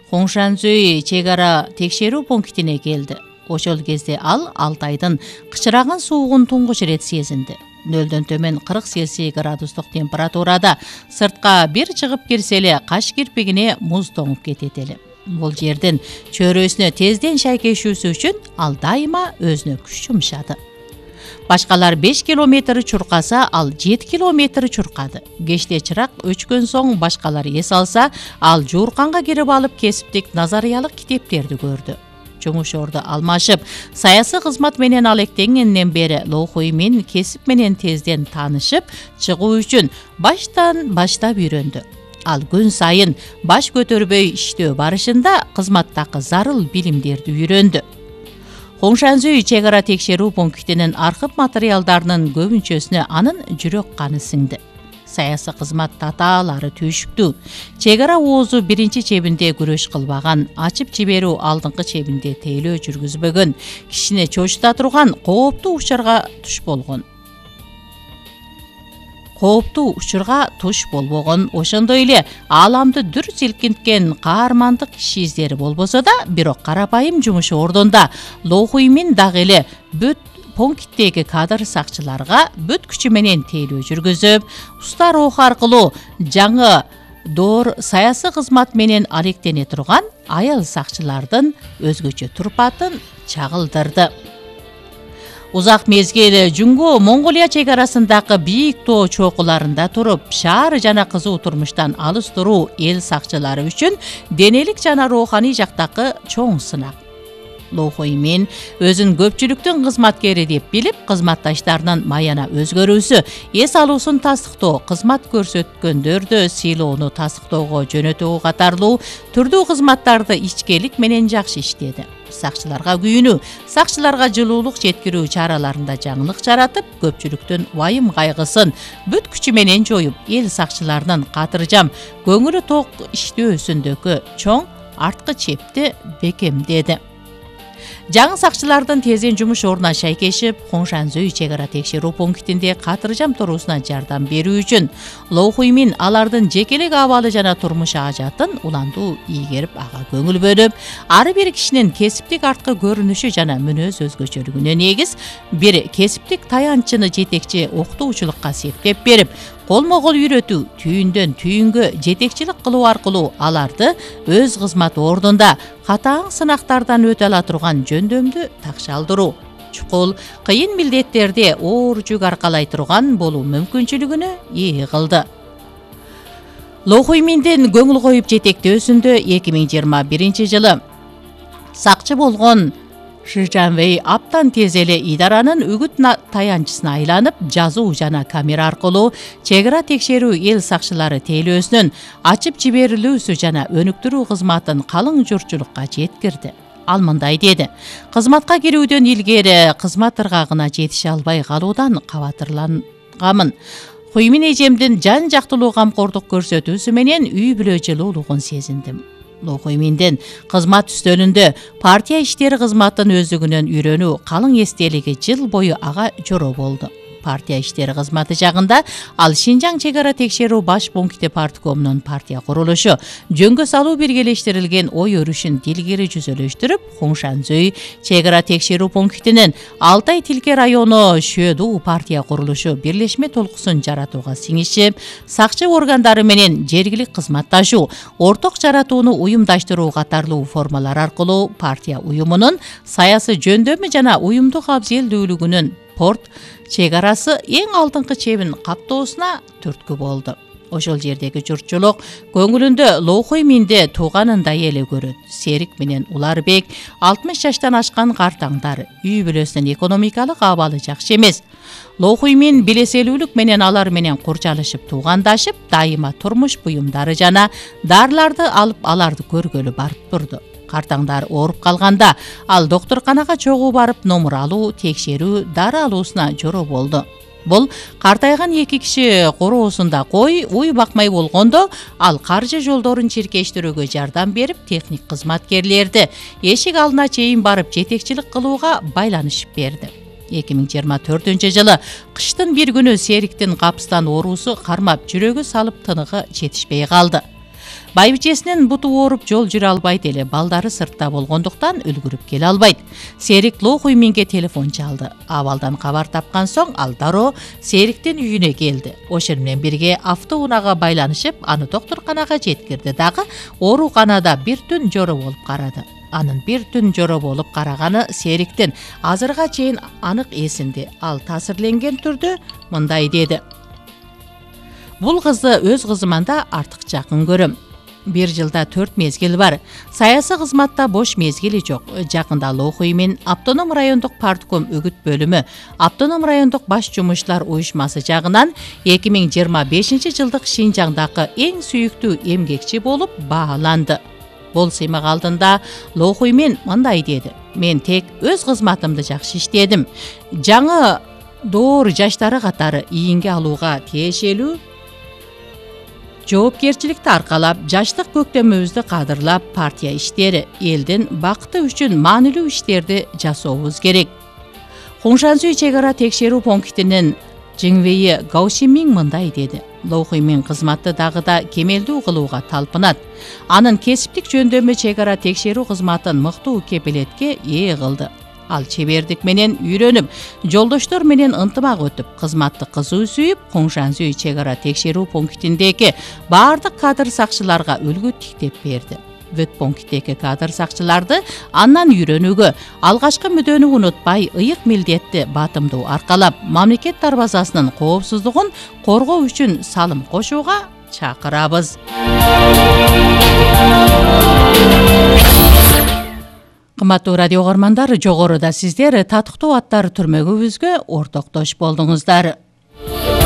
Хоңшанзүй чек ара текшерүү пунктине келди. Ошол кезде ал Алтайдын кычыраган суугун туңгуч ирет сезинди. 0дон төмөн 40 Цельсий градустук температурада сыртка бир чыгып кирсе эле каш кирпигине муз тоңуп кетет эле. Бул жердин чөйрөсүнө тезден шайкешүүсү үчүн ал дайыма өзүнө күч жумшады. Башкалар 5 километр чуркаса, ал 7 километр чуркады. Кечте чырак өчкөн соң башкалар эс алса, ал жуурканга кирип алып кесиптик назариялык китептерди көрдү. Жумушорду алмашып, саясий кызмат менен алектенгенден бери Лохуй Мин кесип менен тезден таанышып, чыгуу үчүн баштан баштап үйрөндү. Ал күн сайын баш көтөрбөй иштөө барышында кызматтагы зарыл билимдерди үйрөндү. Хоңшанзүй чек ара текшерүү пунктинин архив материалдарынын көбүнчөсүнө анын жүрөк каны сиңди. Саясий кызмат татаалары түйшүктүү. Чек ара оозу биринчи чебинде күрөш кылбаган, ачып жиберүү алдыңкы чебинде тейлөө жүргүзбөгөн, кишини чочута турган кооптуу учурга туш болбогон. Ошондой эле ааламды дүр силкинткен каармандык иш издери болбосо да, бирок карапайым жумуш ордунда Лохуй Мин дагы эле бүт пункттеги кадр сакчыларга бүт күчү менен тейлөө жүргүзүп, уста руху аркылуу жаңы доор саясий кызмат менен алектене турган аял сакчылардын өзгөчө турпатын чагылдырды. Узак мезгил Жуңгу Монголия чек арасындагы бийик тоо чокуларында туруп, шаар жана кызуу турмуштан алыс туруу эл сакчылары үчүн денелик жана руханий жактагы чоң сынак. Лохуй Мин өзүн көпчүлүктүн кызматкери деп билип, кызматташтарынын маяна өзгөрүүсү, эс алуусун тастыктоо, кызмат көрсөткөндөрдү сыйлоону тастыктоого жөнөтүү катарлуу түрдүү кызматтарды ичкелик менен жакшы иштеди. Сакчыларга күйүнүү, сакчыларга жылуулук жеткирүү чараларында жаңылык жаратып, көпчүлүктүн вайым кайгысын бүт күчү менен жоюп, эл сакчыларынын катыржам, көңүлү ток иштөөсүндөгү чоң арткы чепти бекемдеди. Жаңы сакчылардын тезден жумуш ордуна шайкешип, Хоңшанзүй чек ара текшерүү пунктинде катыржам туруусуна жардам берүү үчүн Лохуй Мин алардын жекелик абалы жана турмуш ажатын уландуу ийгерип, ага көңүл бөлүп, ар бир кишинин кесиптик арткы көрүнүшү жана мүнөз өзгөчөлүгүнө негиз бир кесиптик таянчыны жетекчи окутуучулукка септеп берип, колмо-кол үйрөтүү, түйүндөн түйүнгө жетекчилик кылуу аркылуу аларды өз кызмат ордунда катаң сынактардан өтө ала турган жөндөмдү такшалдыруу, чукул, кыйын милдеттерди оор жүк аркалай турган болуу мүмкүнчүлүгүнө ээ кылды. Лохуй Миндин көңүл коюп жетектөөсүндө 2021 жылы сакчы болгон Шижанвей аптан тез эле идаранын үгүт таянчысына айланып, жазуу жана камера аркылуу чек ара текшерүү эл сакчылары тейлөөсүнүн ачып жиберилүүсү жана өнүктүрүү кызматын калың журтчулукка жеткирди. Ал мындай деди: кызматка кирүүдөн илгери кызмат ыргагына жетише албай калуудан кабатырлангамын. Хуймин эжемдин жан жактылуу камкордук көрсөтүүсү менен үй бүлө жылуулугун сезиндим. Лохуй Миндин кызмат үстөлүндө партия иштери кызматын өздүгүнөн үйрөнүү калың эстелиги жыл бою ага жоро болду. Партия иштери кызматы жагында ал Шинжаң чек ара текшерүү баш пункти парткомунун партия курулушу, жөнгө салуу биргелештирилген ой өрүшүн дилгери жүзөлөштүрүп, Хоңшанзүй чек ара текшерүү пунктинин Алтай Тилке району Шөду партия курулушу бирлешме толкусун жаратууга сиңишип, сакчы органдары менен жергилик кызматташуу, орток жаратууну уюмдаштыруу катарлуу формалар аркылуу партия уюмунун саясий жөндөмү жана уюмдук абзелдүүлүгүнүн порт чек арасы эң алдыңкы чебин каптоосуна түрткү болду. Ошол жердеги журтчулук көңүлүндө Лохуй Минди тууганындай эле көрөт. Серик менен Уларбек 60 жаштан ашкан картаңдар, үй бүлөсүнүн экономикалык абалы жакшы эмес. Лохуй Мин билеселүүлүк менен алар менен курчалышып туугандашып, дайыма турмуш буюмдары жана дарыларды алып аларды көргөлү барып турду. Картаңдар ооруп калганда, ал доктурканага чогуу барып номур алуу, текшерүү, дары алуусуна жоро болду. Бул картайган эки киши короосунда кой, уй бакмай болгондо, ал каржы жолдорун чиркештирүүгө жардам берип, техник кызматкерлерди эшик алдына чейин барып жетекчилик кылууга байланышып берди. 2024 жылы кыштын бир күнү Сериктин капыстан оорусу кармап жүрөгү салып тыныгы жетишпей калды. Байбичесинин буту ооруп жол жүрө албайт эле, балдары сыртта болгондуктан үлгүрүп келе албайт. Серик Лохуйминге телефон чалды. Абалдан кабар тапкан соң ал дароо Сериктин үйүнө келди. Ошол менен бирге автоунаага байланышып, аны доктурканага жеткирди дагы ооруканада бир түн жоро болуп карады. Анын бир түн жоро болуп караганы Сериктин азырга чейин анык эсинде. Ал таасирленген түрдө мындай деди: бул кызды өз кызыман да артык жакын көрөм. 1 жылда 4 мезгил бар. Саясий кызматта бош мезгили жок. Жакында Лохуймин Автоном райондук партком үгүт бөлүмү, Автоном райондук баш жумушчулар уюшмасы жагынан 2025 жылдык Шинжаңдагы эң сүйүктүү эмгекчи болуп бааланды. Бул сыймак алдында Лохуймин мындай деди: мен тек өз кызматымды жакшы иштедим. Жаңы доор жаштары катары ийинге алууга тиешелүү жоопкерчиликти аркалап, жаштык көктөмүбүздү кадырлап, партия иштери, элдин бакыты үчүн маанилүү иштерди жасообуз керек. Хуншансүй чек ара текшерүү пунктинин Жиңвейи Гаушимин мындай деди: Лохуймин кызматты дагы да кемелдүү кылууга талпынат. Анын кесиптик жөндөмү чек ара текшерүү кызматын мыктуу кепилетке ээ кылды. Ал чебердик менен үйрөнүп, жолдоштор менен ынтымак өтүп, кызматты кызуу сүйүп, Хуншансүй чек ара текшерүү пунктиндеги баардык кадр сакчыларга үлгү тиктеп берди. Бүт пункттеги кадр сакчыларды андан үйрөнүүгө, алгачкы мүдөнү унутпай, ыйык милдетти батымдуу аркалап, мамлекет дарбазасынын коопсуздугун коргоо үчүн салым кошууга чакырабыз. Кымбаттуу радио угармандар, жогоруда сиздер татыктуу аттар түрмөгүбүзгө ортоктош болдуңуздар.